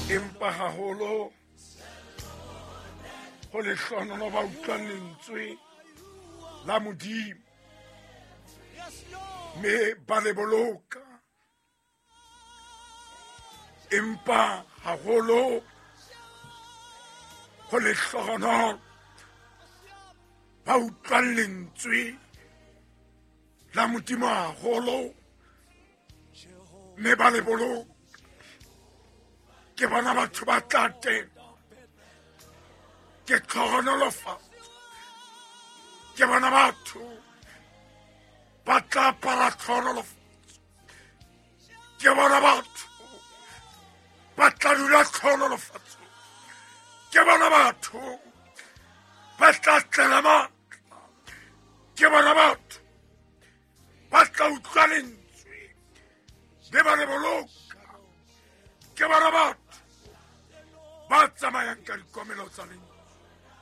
Empa haholo ho lehlohonolo ba utlwang lentswe la Modimo mme ba le boloka. Empa haholo ho lehlohonolo ba utlwang lentswe la Modimo haholo mme ba le boloka. Ke bona batho ba tla teng, ke tlhohonolofatso. Ke bona batho ba tla apara tlhohonolofatso. Ke bona batho ba tla dula tlhohonolofatso. Ke bona batho ba tla tlela matla. Ke bona batho ba tla utlwa lentswe mme ba le boloka. Ke bona batho ba tsamayang ka dikomelo tsa lentswe.